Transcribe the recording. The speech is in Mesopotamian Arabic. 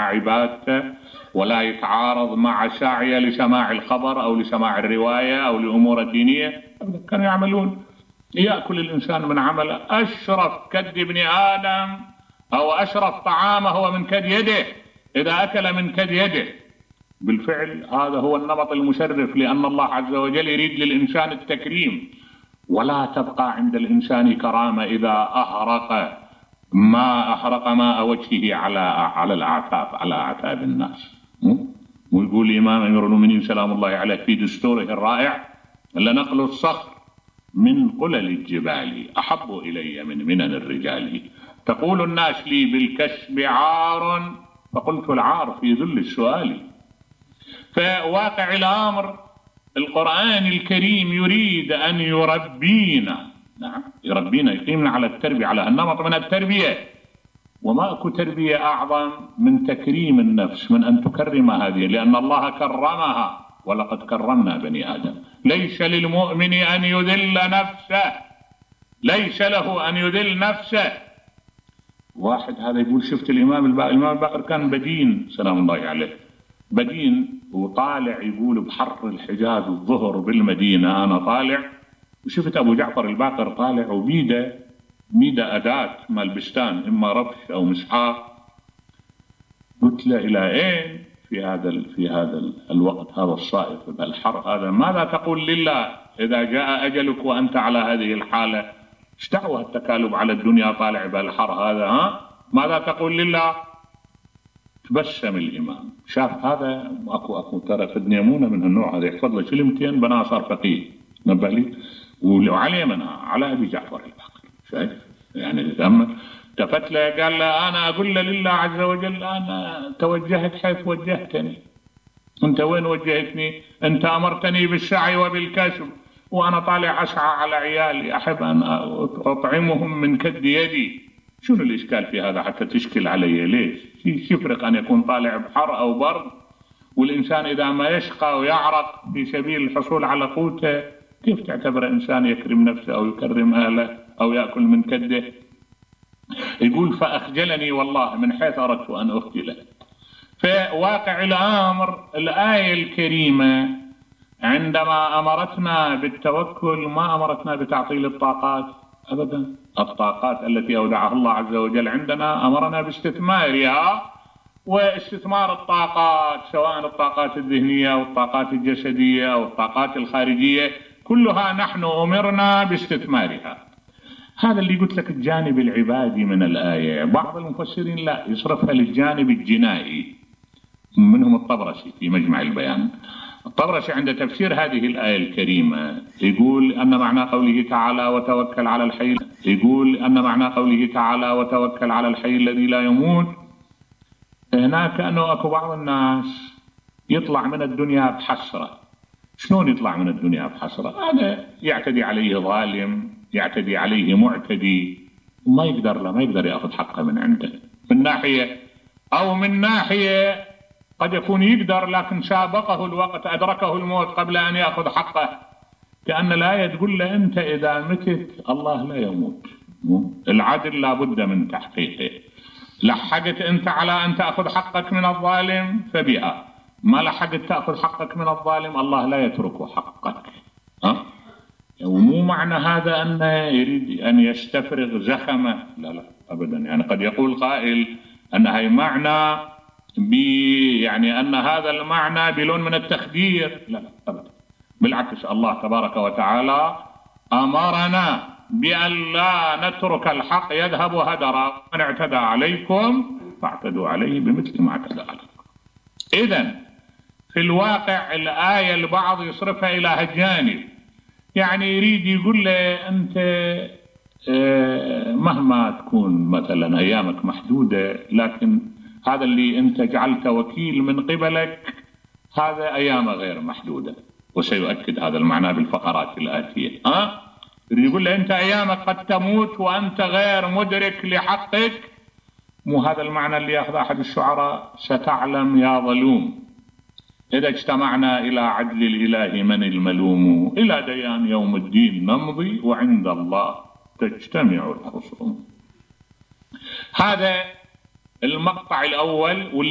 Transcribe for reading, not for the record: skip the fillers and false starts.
عبادته ولا يتعارض مع سعيه لسماع الخبر أو لسماع الرواية أو لأمور دينية. كانوا يعملون يأكل الإنسان من عمله. أشرف كد ابن آدم أو أشرف طعامه هو من كد يده، إذا أكل من كد يده. بالفعل هذا هو النمط المشرف، لأن الله عز وجل يريد للإنسان التكريم، ولا تبقى عند الإنسان كرامة إذا أحرق ماء وجهه على الأعتاب، على أعتاب الناس. ويقول الإمام أمير المؤمنين سلام الله عليه في دستوره الرائع: لنقل الصخر من قلل الجبال أحب إلي من منن الرجال. تقول الناس لي بالكسب عار، فقلت العار في ذل السؤال. فواقع الأمر القرآن الكريم يريد أن يربينا، نعم يربينا، يقيمنا على التربية، على النمط من التربية. وما أكو تربية أعظم من تكريم النفس، من أن تكرم هذه، لأن الله كرمها: ولقد كرمنا بني آدم. ليس للمؤمن أن يذل نفسه، ليس له أن يذل نفسه. واحد هذا يقول: شفت الإمام الباقر كان بدين سلام الله عليه، بدين وطالع، يقول بحر الحجاز الظهر بالمدينة، أنا طالع وشفت أبو جعفر الباقر طالع وبيده أداة مال بستان، إما ربش أو مسحاق. قلت له: إلى أين في هذا الوقت هذا الصائف بالحر هذا؟ ماذا تقول لله إذا جاء أجلك وأنت على هذه الحالة؟ ايش دعوة التكالب على الدنيا طالع بالحر هذا؟ ماذا تقول لله؟ تبسم الإمام، شاف هذا أكو ترى في الدنيامونة من النوع هذا، يحفظ له كلمتين بنا صار فقيه، نبه لي وعليه منها على أبي جعفر الباقر. شايف يعني تتأمل. التفت له قال له: أنا أقول لله عز وجل أنا توجهت حيث وجهتني. أنت وين وجهتني؟ أنت أمرتني بالسعي وبالكسب، وأنا طالع أسعى على عيالي، أحب أن أطعمهم من كد يدي. شنو الإشكال في هذا حتى تشكل علي؟ ليش؟ يفرق أن يكون طالع بحر أو برد؟ والإنسان إذا ما يشقى ويعرق في سبيل الحصول على قوته، كيف تعتبر إنسان يكرم نفسه أو يكرم أهله أو يأكل من كده؟ يقول: فأخجلني والله من حيث أردت أن أخجله. فواقع الأمر الآية الكريمة عندما أمرتنا بالتوكل ما أمرتنا بتعطيل الطاقات أبدا. الطاقات التي أودعها الله عز وجل عندنا أمرنا باستثمارها، واستثمار الطاقات سواء الطاقات الذهنية أو الطاقات الجسدية أو الطاقات الخارجية كلها نحن أمرنا باستثمارها. هذا اللي قلت لك الجانب العبادي من الآية. بعض المفسرين لا يصرفها للجانب الجنائي، منهم الطبرسي في مجمع البيان. الطبرسي عند تفسير هذه الآية الكريمة يقول أن معنى قوله تعالى: وتوكل على الحي، يقول أن معنى قوله تعالى: وتوكل على الحي الذي لا يموت، هناك أنه أكو بعض الناس يطلع من الدنيا بحسرة. شلون يطلع من الدنيا بحسرة؟ هذا يعتدي عليه ظالم، يعتدي عليه معتدي، وما يقدر يأخذ حقه من عنده من ناحية، أو من ناحية قد يكون يقدر لكن سابقه الوقت، أدركه الموت قبل أن يأخذ حقه. كأن الآية تقول له: أنت إذا متت الله لا يموت، العدل لابد من تحقيقه. لحقت أنت على أن تأخذ حقك من الظالم فبها، ما لحقت تأخذ حقك من الظالم الله لا يترك حقك. ومو معنى هذا أنه يريد أن يستفرغ زخمه، لا أبدا. يعني قد يقول قائل أن هي معنى يعني أن هذا المعنى بلون من التخدير، لا أبدا. بالعكس، الله تبارك وتعالى أمرنا بأن لا نترك الحق يذهب هدرا. من اعتدى عليكم فاعتدوا عليه بمثل ما اعتدى عليكم. إذن في الواقع الآية البعض يصرفها إلى هالجانب، يعني يريد يقول له: أنت مهما تكون مثلا أيامك محدودة، لكن هذا اللي أنت جعلت وكيل من قبلك هذا أيامه غير محدودة. وسيؤكد هذا المعنى بالفقرات الآتية. يقول له: أنت أيامك قد تموت وأنت غير مدرك لحقك. مو هذا المعنى اللي يأخذ أحد الشعراء: ستعلم يا ظلوم إذا اجتمعنا إلى عدل الإله من الملوم، إلى ديان يوم الدين نمضي وعند الله تجتمع الخصوم. هذا المقطع الأول، واللي